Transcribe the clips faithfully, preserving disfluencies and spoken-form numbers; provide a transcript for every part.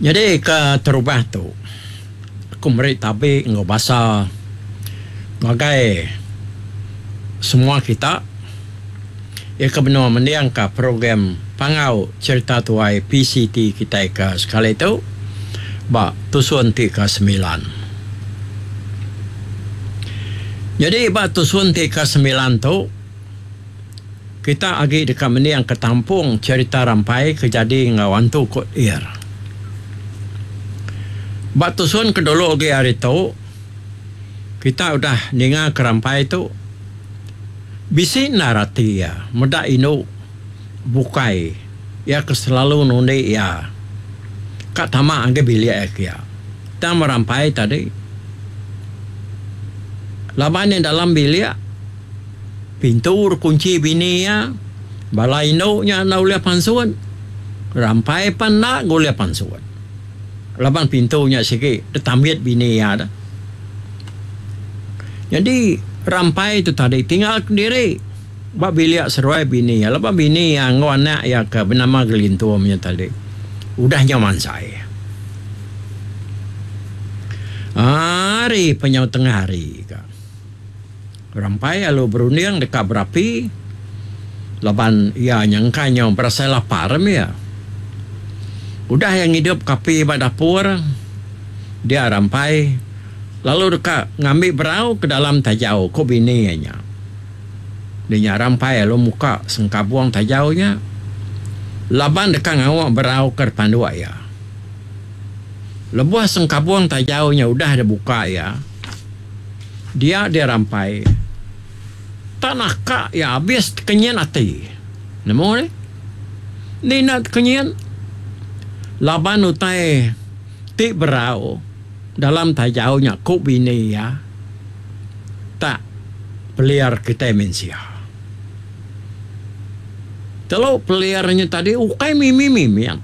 Nyadi ke terubah tu, aku meri tabi enggau basa ngagai semua kita iya ke benung mendingka program Panggau Cherita Tuai P C T kitai ke sekali tu ba tusun ti ke semilan. Nyadi ba tusun ti ke semilan tu, kita agi deka mendingka tampung cherita rampai ke jadi enggau antu Kut Ir. Ba tusun ke dulu agi hari tu, kita udah ninga ke rampai tu bisi endar ati iya meda indu bukai iya ke selalu nundi iya ka tama agi bilik iya kia. Tang merampai tadi laban iya dalam bilik pintu kunchi bini iya, bala indu nya enda ulih pansut, rampai pan enda ga ulih pansut. Laban pintu nya sigi ditambit bini iya dah. Nyadi rampai tu tadi tinggal kediri ba bilik seruai bini iya laban bini iya enggau anak iya ke benama Gelintum nya tadi udah nyau mansai. Hari penyau tengah hari ka. Rampai lalu berunding deka berapi laban iya nyangka nyau berasai lapar mih iya. Udah iya ngidup ke api ba dapur, dia Rampai lalu deka ngambi berau ke dalam tajau ku bini iya nya. Dia nya Rampai lalu muka sengkabung tajau nya laban deka ngawa berau ke dipanduk iya. Lebuh sengkabung tajau nya udah dibuka iya, dia dia Rampai tak naka iya abis tekenyit ati. Nemu deh. Ni enda tekenyit laban utai ti berau dalam tajau nya ku bini iya tak pelir kitai mensia. Telu pelir nya tadi ukai mimi-mimit.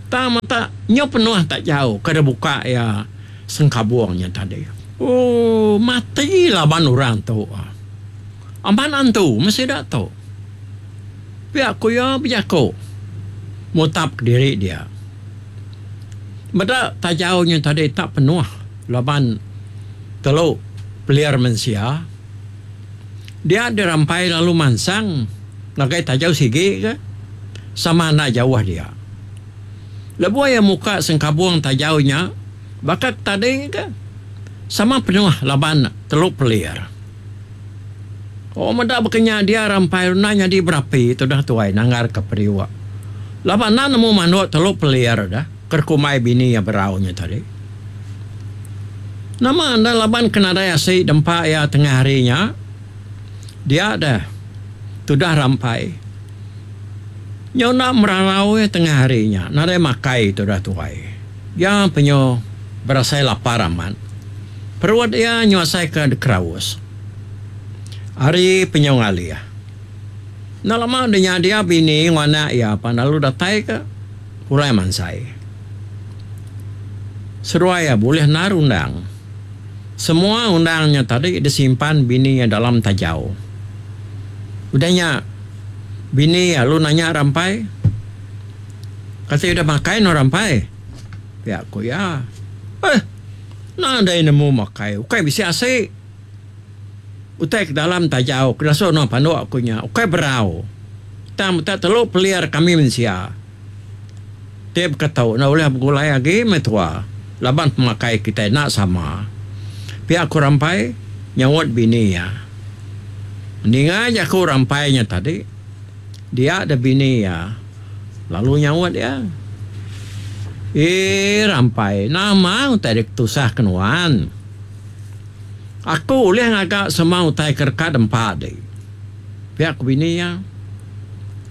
Tang mata nyu penuh tajau ke dibuka iya sengkabung nya tadi. Ooh mati laban orang tu. Amat antu meh sida tu. Pia ku iya bejaku mutap kediri dia. Meda tajau nya tadi tak penuh laban telu pelir mensia. Dia dirampai lalu mansang ngagai tajau sigi ke sama enda jauh dia. Lebuh iya muka sengkabung tajau nya baka ke tadi ke sama penuh laban telu pelir. Oh meda baka nya dia rampai enda nyadi berapi tudah tuai nanggar ke periuk. Laban enda nemu manduk telu pelir dah ke kumbai bini iya berau nya tadi. Nama enda laban ke nadai asi dempa iya tengah hari nya dia dah tudah rampai. Nyau enda merarau iya tengah hari nya nadai makai tudah tuai. Iya penyu berasai lapar amat. Perut iya nyu asai ke dikeraus. Ari penyu ngalih. Enda lama udah nya dia bini enggau anak iya pan lalu datai ke pulai mansai. Seduai iya bulih endar undang. Semua undang nya tadi disimpan bini iya dalam tajau. Udah nya bini iya lalu nanya Rampai, Kati udah makai nuan Rampai? Pia ku iya. Eh, nadai nemu makai ukai bisi asi. Utai ke dalam tajau ke dasuh nuan panduk ku nya ukai berau. Tang meta telu pelir kami mensia. Ti beketu enda ulih begulai agi meh tua laban pemakai kitai enda sama. Pia ku Rampai nyaut bini iya. Ninga jaku Rampai nya tadi, dia deh bini iya lalu nyaut iya. Ee Rampai nama utai diketusah ke nuan? Aku ulih ngaga semua utai ke deka dempa di. Pia ku bini iya.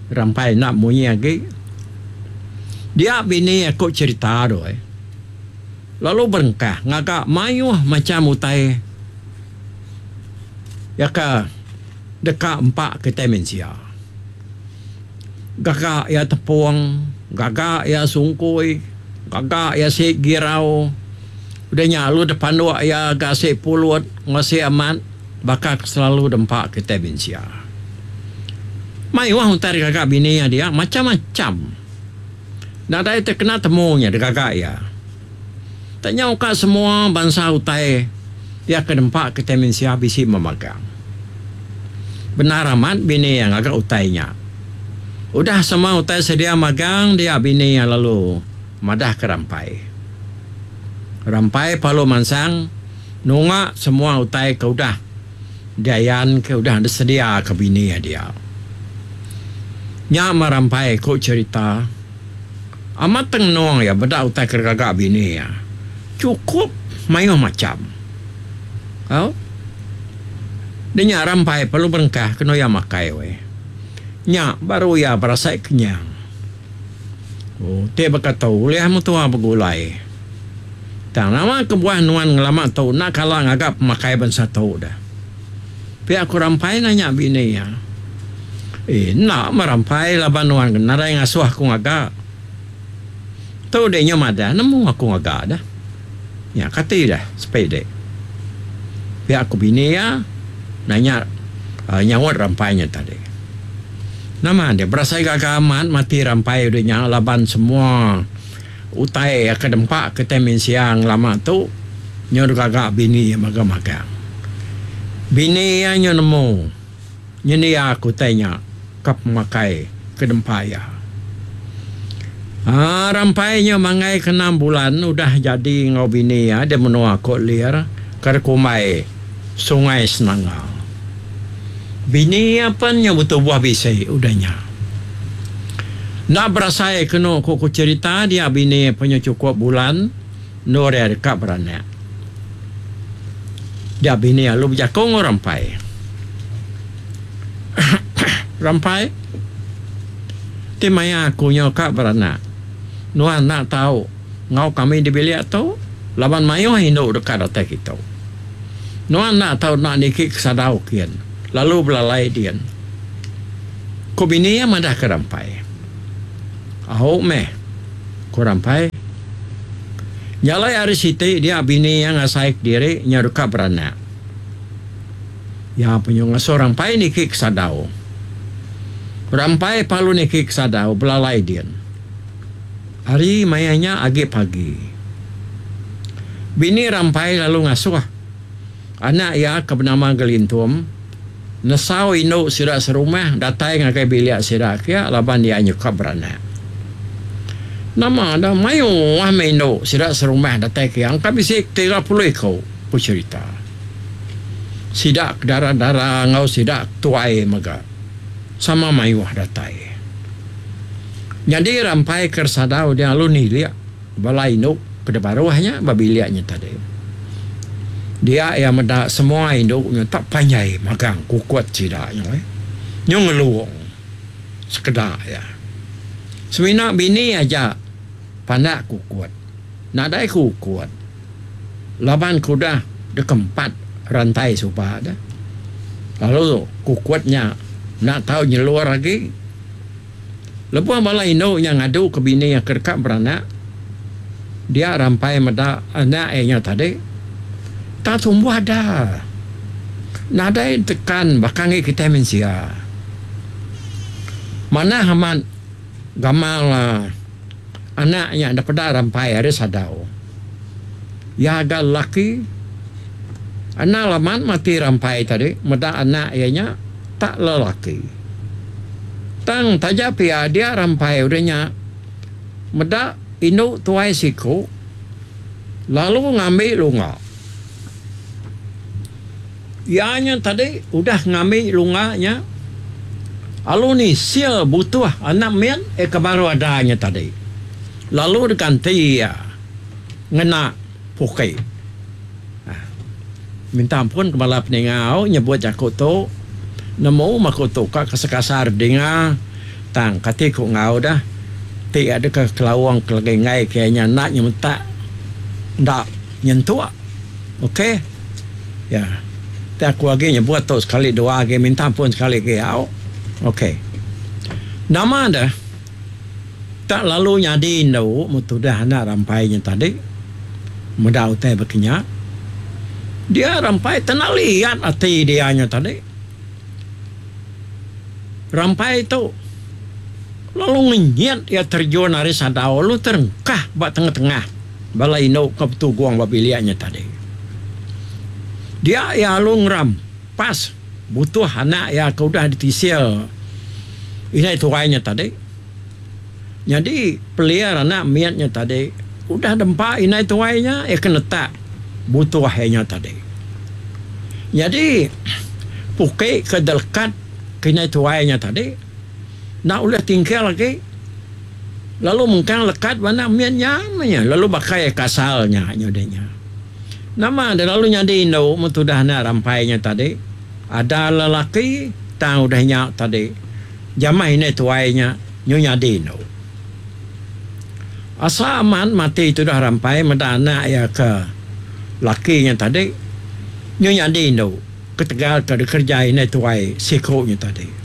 Rampai enda munyi agi. Dia bini aku cherita tu ai. Lalu berengkah ngaga mayuh macham utai iya ke deka empa kitai mensia. Gaga iya tepung, gaga iya sungkui, gaga iya si girau. Udah nya lalu dipanduk iya ga asi pulut enggau asi amat baka ke selalu dempa kitai mensia. Mayuh utai digaga bini iya dia macam-macam. Nadai tekena temu nya digaga iya. Tak nyau ka semua bansa utai iya ke nempa kitai mensia bisi memagang. Bendar amat bini iya ngaga utai nya. Udah semua utai sedia magang dia bini iya lalu madahka Rampai. Rampai parlu mansang nunga semua utai ke udah diayan ke udah disediaka bini iya dia. Nya meh Rampai ku cherita. Amat tengenung iya meda utai ke digaga bini iya. Chukup mayuh macham. Au. Dia nya Rampai perlu berengkah kenu iya makai weh. Nya baru iya berasai kenyang. Oh, ti baka tu ulih mentua begulai. Tang nama kebuah nuan ngelama tu enda kala ngaga pemakai bansa tu deh. Pia ku Rampai nanya bini iya. Eh, enda meh Rampai laban nuan ke nadai ngasuh aku ngaga. Tu deh nya madah nemu aku ngaga deh. Nya kati deh sepi dek. Pia ku bini iya nanya nyaut Rampai nya tadi. Nama deh berasai gaga amat mati Rampai udah nya laban semua utai ke dempa kitai mensia ngelama tu nyu digaga bini iya magang-magang. Bini iya nyu nemu nyendia ke utai nya ke pemakai ke dempa iya. Aa Rampai nya manggai ke enam bulan udah jadi enggau bini iya di menua Kok Lir ke dikumbai Sungai Senanga. Bini iya pen nya betubuh bisi udah nya. Enda berasai kenu ku ku cherita dia bini iya pen nya chukup bulan endur iya deka beranak. Dia bini iya lalu bejaku enggau Rampai. Rampai. Ti maya aku nyau ka beranak, nuan enda tau enggau kami di bilik tu laban mayuh indu deka datai kitu. Nuan enda tau enda niki ke sadau kin lalu belalai din. Ku bini iya madahka Rampai. Au meh, ku Rampai. Nya alai hari siti dia bini iya ngasai kediri nyau deka beranak. Iya penyu ngasuh Rampai niki ke sadau. Rampai palu niki ke sadau belalai din. Hari maya nya agi pagi. Bini Rampai lalu ngasuh anak iya ke benama Gelintum nesau indu sida serumah datai ngagai bilik sida kia laban iya nyuka beranak. Nama da mayuh meh indu sida serumah datai kia engka bisi tiga puluh iku, ku cherita. Sida ke dara-dara enggau sida ke tuai mega sama mayuh datai. Nyadi Rampai ke Sadau dia lalu nilik bala indu ke dibaruh nya ba bilik nya tadi. Dia iya meda semua indu nya tak panjai magang kukut sida nya weh. Nyu ngelung sekeda iya. Semina bini aja pandak kukut. Nadai kukut laban ke udah dikempat rantai suba deh. Lalu kukut nya enda tau nyelur agi. Lebuh bala indu nya ngadu ke bini iya ke deka beranak, dia Rampai meda anak iya nya tadi tak tumbuh ada. Nadai tekan baka enggi kitai mensia. Manah amat gamal anak nya daripada Rampai ari sadau. Iya ga lelaki. Anang laman mati Rampai tadi meda anak iya nya tak lelaki. Tang taja pia dia Rampai udah nya meda indu tuai siku lalu ngambi lunga. Iya nya tadi udah ngambi lunga nya lalu nisil butuh anak mit iya ke baru ada nya tadi lalu diganti iya ngena puki. Minta ampun ke bala peninga au nyebut jaku tu nemu meh ku tu ka kasar-kasar dinga tang kati ku enggau dah ti ada ke kelaung ke lagi enggai ke iya nya enda nyemetak enda nyentuk ok ya ti aku agi nyebut tu sekali dua agi minta ampun sekali agi au ok nama deh. Tak lalu nyadi indu metudah anak Rampai nya tadi meda utai baka nya. Dia Rampai tenali iat ati dia nya tadi. Rampai tu Lalu ngenyit iya terjun ari sadau lalu terengkah ba tengah-tengah bala indu ke betugung ba bilik nya tadi. Dia iya lalu ngerampas butuh anak iya ke udah ditisil indai tuai nya tadi. Nyadi peliar anak mit nya tadi udah dempa indai tuai nya iya ke netak butuh iya nya tadi. Nyadi puki ke delekat ke indai tuai nya tadi enda ulih tingkil agi lalu mengkang lekat ba anak mit nya meh nya lalu baka iya ke asal nya nyadi nya. Nama deh lalu nyadi indu meh tudah anak rampai nya tadi ada lelaki tang udah nya tadi jamah indai tuai nya nyu nyadi indu. Asa amat mati tudah rampai meda anak iya ke laki nya tadi nyu nyadi indu ketegal ke dikereja indai tuai siku nya tadi.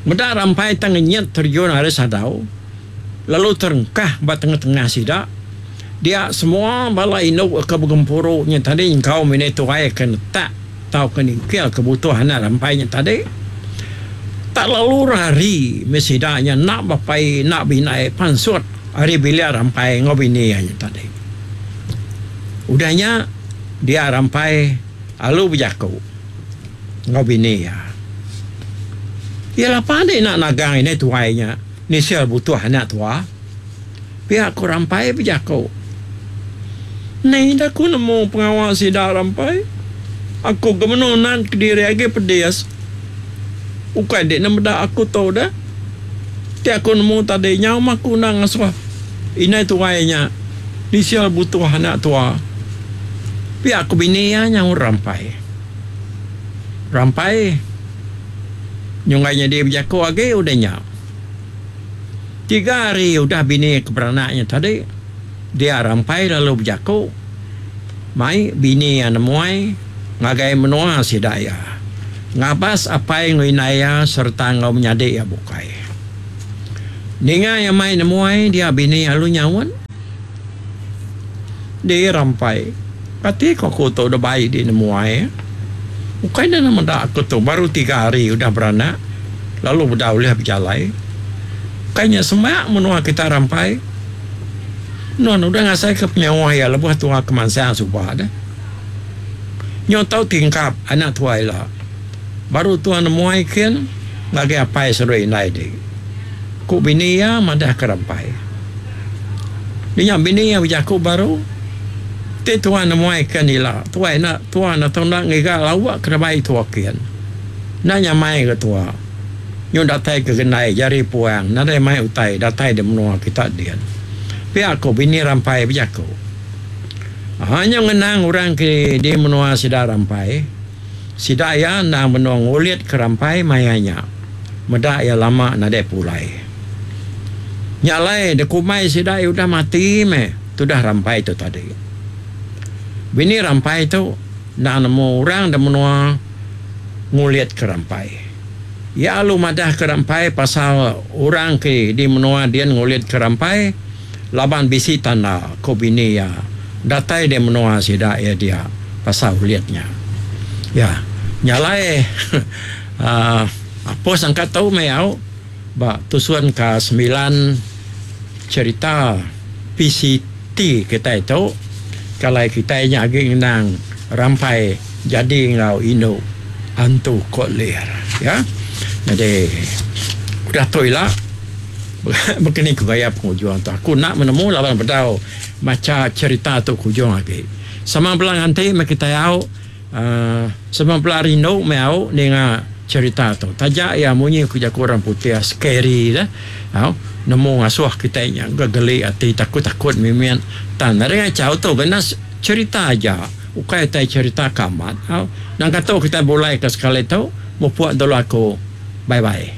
Meda rampai tang ngenyit terjun ari sadau lalu terengkah ba tengah-tengah sida dia semua bala indu ke begempuru nya tadi nyengkaum indai tuai ke netak tauka ningkil ke butuh anak rampai nya tadi tak lalu rari meh sida nya enda bapai enda bindai pansut ari bilik rampai enggau bini iya nya tadi. Udah nya dia rampai alu bejaku enggau bini iya. Iya lapa enda ina nagang indai tuai nya nisil butuh anak tua. Pia ku Rampai bejaku. Ni ida ku nemu pengawa sida Rampai. Aku ke menu nan kediri agi pedis. Ukai dik ne meda aku tu deh. Ti aku nemu tadi nyau mah aku enda ngasuh indai tuai nya nisil butuh anak tua. Pia ku bini iya nyaut Rampai. Rampai nyunggai nyadi bejaku agi udah nya. Tiga hari udah bini ke beranak nya tadi, dia Rampai lalu bejaku mai bini iya nemuai ngagai menua sida iya ngabas apai enggau indai iya sereta enggau menyadi iya bukai. Ninga iya mai nemuai dia bini lalu nyaut. Di Rampai, kati ko aku tu udah bai di nemuai. Ukai enda meda aku tu baru tiga hari udah beranak lalu beda ulih bejalai. Ukai nya semak menua kita Rampai. Nuan udah ngasaika penyauh iya lebuh tua ke mansang suba deh. Nyu tau tingkap anak tua ila. Baru tua nemuai kin ngagai apai seduai indai di. Ku bini iya madahka Rampai. Nya bini iya bejaku baru, Ti tua nemuai kin ila, tua enda tua enda tau enda ngiga lauk ke dibai tua kin. Enda nyamai ga tua. Nyu datai ke gendai jari puang nadai mai utai datai di menua kita din. Pia ku bini Rampai bejaku. Aha nyu ngenang orang ke di menua sida Rampai. Sida iya endang benung ngulit ke Rampai maya nya. Meda iya lama nadai pulai. Nya alai dikumbai sida iya udah mati meh tudah Rampai tu tadi. Bini Rampai tu endang nemu orang da menua ngulit ke Rampai. Iya alu madah ke Rampai pasal orang ke di menua din ngulit ke Rampai laban bisi tanda, ku bini iya datai di menua sida iya dia pasal ulit nya. Ya, nya alai uhh apus angkat tu meh au ba tusun ka semilan cherita P C T kitai tu kalai kitai nya agi ngenang Rampai jadi enggau indu antu Kok Lir. Ya. Nyadi udah tu ila baka ni ku gaya pengujung tu. Aku enda menemu laban bedau macha cherita tu ke ujung agi. Sama bela nganti meh kitai au uhh sama bela rindu meh au ninga cherita tu. Taja iya munyi ku jaku orang putih scary deh au nemu ngasuh kitai nya gegeli ati takut-takut mimit. Tang nadai ngachau tu kena cherita aja ukai utai cherita ke amat au. Nangka tu kitai bulai ke sekali tu mupuk dulu aku. Bye bye.